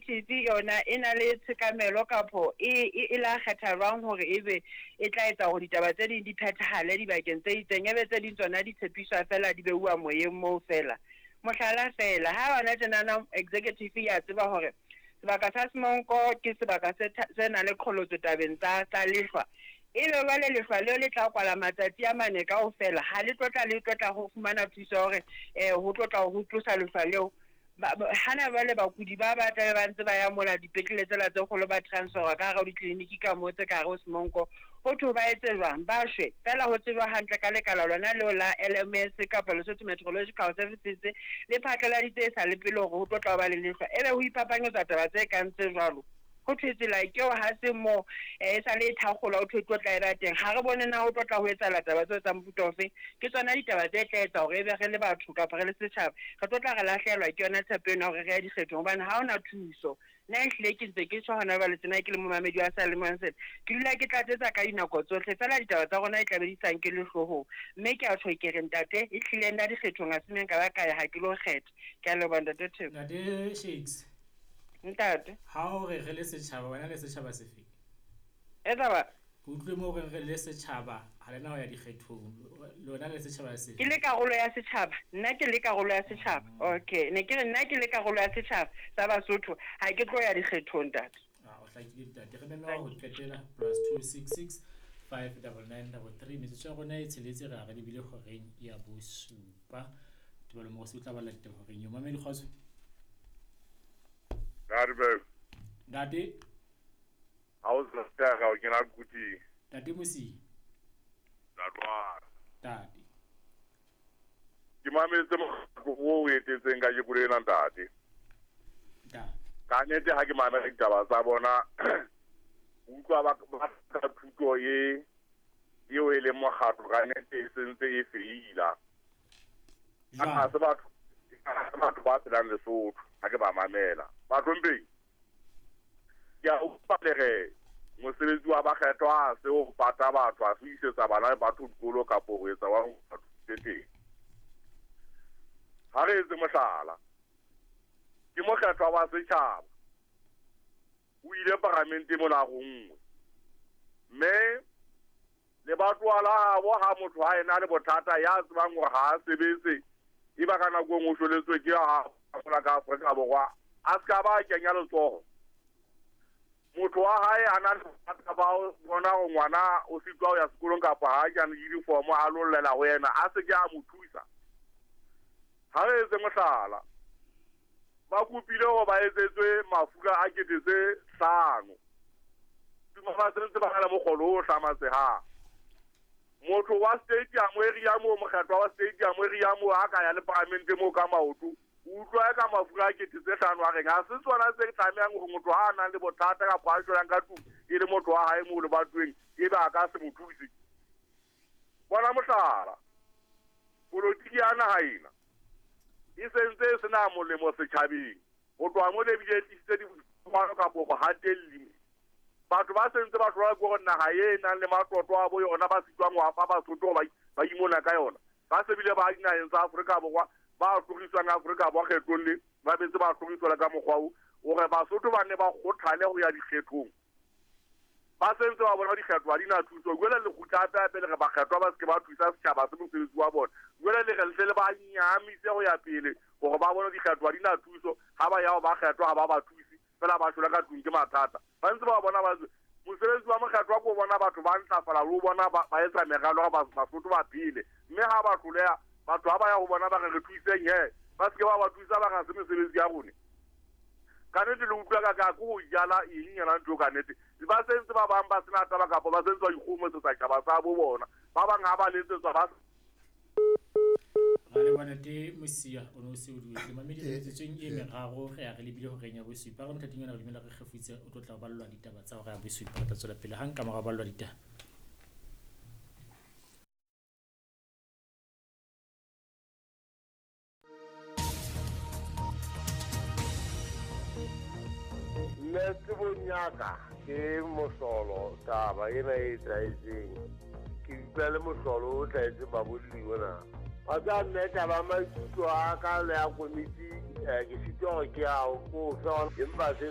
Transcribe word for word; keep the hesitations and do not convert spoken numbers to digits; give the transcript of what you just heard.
Executive yona e na le tshekamelo kapo e e e la kgetha jwang hore ebe e tla etsa hore ditaba tse ding di phethahale dibakeng tse itseng, ebe tse ding tsona di tshepiswa fela di beuwa moyeng moo fela. Mohlala fela, ha hona tjenana executive ya tseba hore sebaka sa Semonko ke sebaka se se nang le qholotso tabeng tsa tsa lehlwa. Ebe jwale lehlwa leo le tla kwala matsatsi a mane kaofela, ha le tlo tla le tlo tla ho fumana thuso ya hore eh ho tlo tla ho tlosa lehlwa leo. Hana jwale bakudi ba ba tlabe ba ntse ba ya mola dipetlele tsela tse kgolo ba transfer ka hara ditleliniki ka moo tse ka hare ho Semonko. Ho thwe ba etse jwang? Ba shwe. Feela ho tsejwa hantle ka lekala lona leo la L M S kapa Lesotho Meteorological Services le phatlaladitse e sa le pele hore ho tlo tla ba le lehlwa. Ebe ho iphapanyetsa taba tse kang tse jwalo. Ho thwe tsela ke eo ha se moo e sa le e thakgola ho thwe tlo tla eba teng. Ha re bone na ho tlo tla ho etsahala taba tseo tsa mofuta ofe. Ke tsona ditaba tse tla etsa hore ebe re le batho kapa re le setjhaba re tlo tla re lahlehelwa ke yona tshepo ena hore re ya dikgethong hobane ha hona thuso. Nna ehlile ke ntse ke tjho hona jwale tjena ke le momamedi wa seyalemoya sena, ke dula ke tlatsetsa ka dinako tsohle feela ditaba tsa rona e tlabe di sa nkele hloohong. Mme ke a tjho ke re ntate ehlile nna dikgethong ha se neng ka ba ka ya ha ke lo kgetha. Ke a leboha ntate Theko. Ntate Shakes. Ntate. Ha o re re le setjhaba, wena le setjhaba sefe? E taba. Ke utlwe moo re re le setjhaba ha lena ho ya dikgethong. Lona le setjhaba sefe? Ke le karolo ya setjhaba. Nna ke le karolo ya setjhaba. Okay, ne ke re nna ke le karolo ya setjhaba sa Basotho, ha ke tlo ya dikgethong ntate. Ah, o hlakile ntate. Re meme ho qetela plus two six six five double nine double three. Metsotso ya rona e tsheletse re a re lebile horeng ya bosupa. Tebelo Mogosi o tla bala ditaba horeng eo. Mamedi kgotso. Ntate. Ntate. Ha o sa tsaya o kena kuti. Ntate Mosi. Ntate. Ntate. Ke mametse mokgatlo o etetseng ka jeko lena ntate. Ntate. Ka nnete ha ke mamela ditaba tsa bona utlwa ba ba thuto e eo e leng mokgatlo ka nnete e sentse e feila. Ha se batho batho ba phelang Lesotho ha ke ba mamela. Batho mpeng ke a utlwa le re mosebetsi wa bakgethwa ha se ho pata batho, ha se ho isetsa bana le batho dikolo kapo ho etsa wa batho teng. Ha re etse mohlala, ke mokgethwa wa setjhaba o ile paramente mona go nngwe, mme lebatowa la habo ha motho ha ena le bothata ya tsebang hore ha a sebetse, e ba ka nako e nngwe o shweletswe ke ha a ka Afrika Borwa, a se ka ba kenya letsoho. Motho wa hae a na le bothata ba ho bona hore ngwana o sitwa ho ya sekolong kapa ha a kena uniform a lo llela ho yena, a se ke a mo thusa. Ha re etse mohlala, ba kopile hore ba etsetswe mafura a kete tse hlano. Ba sentse ba na le mokgolo o hlamatsehang. Motho wa stadium area moo, mokgethwa wa stadium area moo ha ka ya le paramente moo ka maoto, o utlwa ka mafura a kete tse hlano a reng ha se tsona tse tlamehang hore motho ha a nang le bothata kapa a shwelang ka tlung e le motho wa hae moo lebatoweng ebe a ka se mo thuse. Bona mohlala, polotiki ya naha ena e sentse e sena molemo setjhabeng. Ho tloha mo le bile e tlisitse diphapano kapo go hatelli. Batho ba sentse ba hlola ke hore naha e nang le matlotlo a bo yona ba sitwang ho apa Basotho ba ba imona ka yona. Ba se bile ba dinaheng tsa Afrika Borwa ba hloriswang Afrika Borwa kgethong le ba betse ba hloriswa ka mokgwa oo hore Basotho ba ne ba kgothale ho ya dikgethong. Ba sentse ba bona dikgetho ha di na thuso. Jwale le kgutla hape hape le re bakgethwa ba se ke ba thusa setjhaba se mosebetsi wa bona. Jwale le re le tle le ba nyahamise ho ya pele hore ba bone dikgetho ha di na thuso. Ha ba ya ho bakgethwa ha ba ba thuse fela ba shwela ka tlung ke mathata. Ba ntse ba bona ba mosebetsi wa mokgatlo wa ko bona batho ba ntlafala le ho bona ba etsa meralo ba Basotho ba phele. Mme ha ba hloleha batho ha ba ya ho bona ba re re thuseng he, ba se ke ba ba thusa ba re ha se mesebetsi ya rona. Ka nnete le utlwa ka ka ke ho jala eng yona ntho ka nnete. Ba sentse ba bang ba sena taba kapa ba sentse ba ikgomosetsa tjhaba sa bo bona. Ba bang ha ba letsetswa ba Ra leboha ntate Mosia, o ne o se o duetse. Mamedi re metsotsong e meraro re ya re lebile horeng ya bosupa. Re mothating ona re dumela re kgefutse o tlo tla o ballwa ditaba tsa hora ya bosupa. Re tla tswela pele hang ka mora ballwa ditaba. Nna tsebong ya ka ke mohlolo taba ena e etsahetseng. Ke utlwa le mohlolo o hlahetseng babolli ona. Wa tseba nna taba maikutlo a ka le ya komiti, ke sitwa hore ke a o fe empa se